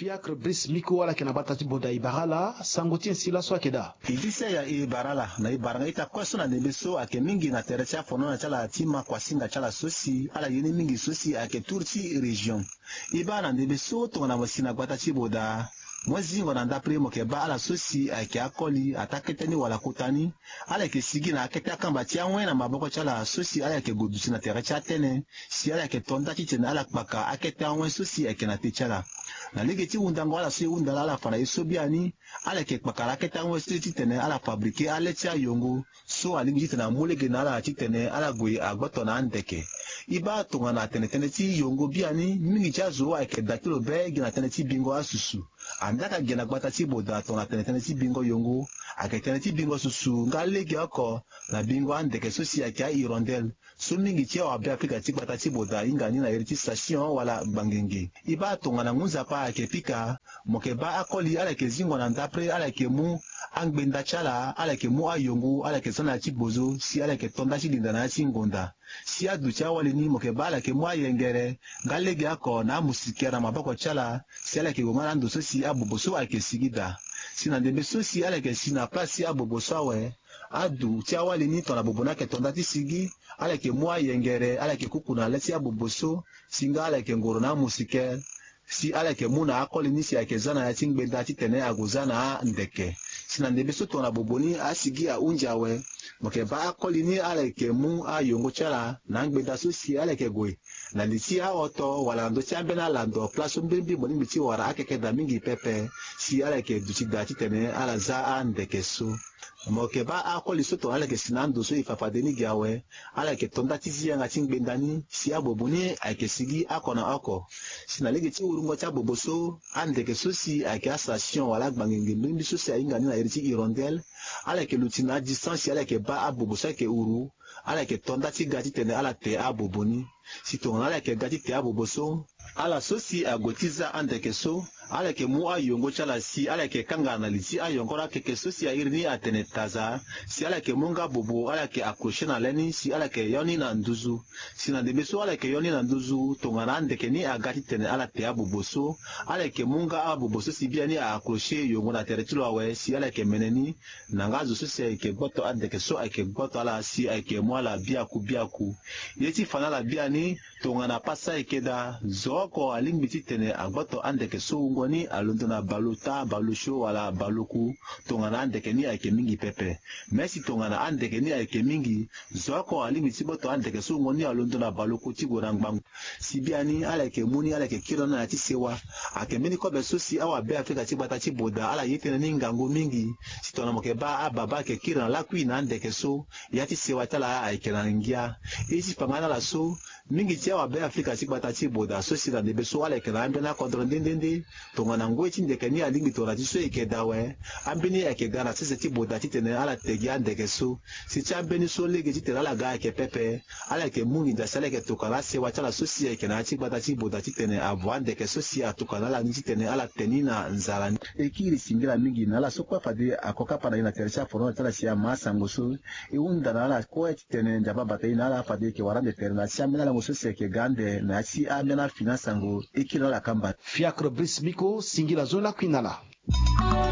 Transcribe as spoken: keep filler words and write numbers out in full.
Fiacre Brice Miko ala yeke na gbata ti Boda, e bara ala sango ti e si laso ayeke daa. E disi aya e bara ala na e bara nga ita kue so na ndembe so ayeke mingi na tere ti afono na ti ala ti ma kuasinga ti ala so si ala ye ni mingi so si ayeke tour ti région. E baa na ndembe so tongana mo si na gbata ti Boda, mo zingo na ndapre mo yeke baa ala so si ayeke akoli ataa kete ni wala kota ni. Ala yeke sigi na akete akamba ti awen na maboko ti ala so si ala yeke gue duti na tere ti atene si ala yeke to nda titene ala kpaka akete awen so si ayeke na te ti ala. Na lege ti hundango ala so e hunda laa ala fa na ye so biani, ala yeke kpakara akete awen so titene ala fabrike ale ti ayongo so alingbi titene amu lege na ala titene ala gue agboto na andeke. E baa tongana tene tënë ti yongo biani, mingi ti azo ayeke daa ti lo be gi na tënë ti bingo asusu. Andaa ka gi na gbata ti Boda tongana tene tënë ti bingo yongo, ayeke tënë ti bingo susu nga legeoko na bingo andeke so si ayeke ahirondele. So mingi ti awabe Afrika ti gbata ti Boda ahinga ni na iri ti station wala gbangenge. E baa tongana ngu nzapa ayeke pika, mo yeke baa akoli ala yeke zingo na ndapre, ala yeke mu angbenda ti ala, ala yeke mu ayongo, ala yeke za na ya ti bozo si ala yeke to nda ti linda na ya ti ngonda. Si aduti awali ni mo yeke baa ala yeke mu ayengere nga legeoko na amusikere na maboko ti ala, si ala yeke gue nga na ando so si abobo so ayeke sigi daa. Si na ndembe so si ala yeke si na place ti abobo so awe, aduti awali ni tongana bobo ni ayeke to nda ti sigi, ala yeke mu ayengere, ala yeke kuku na le ti abobo so, si nga ala yeke ngoro na amusikere. Si ala yeke mu na akoli ni si ayeke za na ya ti ngbenda titene ague za na andeke. Si na ndembe so tongana bobo ni asigi ahunzi awe, mo yeke baa akoli ni ala yeke mu ayongo ti ala na angbenda so si ala yeke gue na li ti ahoto wala na ndö ti ambeni alando place so mbirimbiri mo lingbi ti wara akeke daa mingi pepe, si ala yeke duti daa titene ala za andeke so. Mo yeke baa akoli so tongana ala yeke si na ando so e fa fade ni gi awe, ala yeke to nda ti zi yanga ti ngbenda ni si abobo ni ayeke sigi oko na oko. Si na lege ti wurungo ti abobo so, andeke so si ayeke astation wala agbangenge mbirimbiri so si ahinga ni na iri ti hirondele, ala yeke luti na adistance si ala yeke baa abobo so ayeke wuru, ala yeke to nda ti ga titene ala te abobo ni. Si tongana ala yeke ga ti te abobo so, ala so si ague ti za andeke so, ala yeke mu ayongo ti ala si ala yeke kanga na li ti ayongoro akeke so si airi ni atene taza, si ala yeke mu nga bobo ala yeke accrocher na le ni si ala yeke yo ni na nduzu. Si na ndembe so ala yeke yo ni na nduzu, tongana andeke ni aga titene ala te abobo so, ala yeke mu nga abobo so si biani a accrocher yongo na tere ti lo awe si ala yeke mene ni, na nga azo so si ayeke gboto andeke so ayeke gboto ala si ayeke mu ala biaku biaku. Ye ti fa na ala biani, tongana pasa ayeke daa, zo oko alingbi titene agboto andeke so wungo ni alondo na baleota, baleosio wala baleoku, tongana andeke ni ayeke mingi pepe. Me si tongana andeke ni ayeke mingi, zo oko alingbi ti gboto andeke so wungo ni alondo na baleoku ti gue na ngbangbo. Si biani ala yeke mu ni, ala yeke kiri na ni na ya ti sewa. Ayeke mbeni kobe so si awabe Afrika ti gbata ti Boda ala ye tënë ni ngangu mingi. Si tongana mo yeke baa ababa ayeke kiri na lakui na andeke so, ya ti sewa ti ala ayeke na ngia. E ti fa nga na ala so, mingi ti awabe Afrika ti gbata ti Boda so si na ndembe so ala yeke na ambeni akodro nde nde nde. Tongana ngoi ti ndeke ni alingbi tongana ti so e yeke daa awe, ambeni ayeke ga na sese ti Boda titene ala te gi andeke so. Si ti ambeni so lege titene ala ga ayeke pepe, ala yeke mu nginza si ala yeke tokua na asewa ti ala so si ayeke na ya ti gbata ti Boda titene avo andeke so si atokua na ala ni titene ala te ni na nzara ni. E kiri singila mingi na ala so kue fade ako kapa na e na tere ti afono ti ala si ama asango so. E hunda na ala kue titene nzapa abata e na ala fade e yeke wara ande tere na ya ti ambeni alango so si ayeke ga ande na ya ti ambeni afini asango. E kiri na ala kamba. Fiacre Brice Miko, singila zo lakui na ala.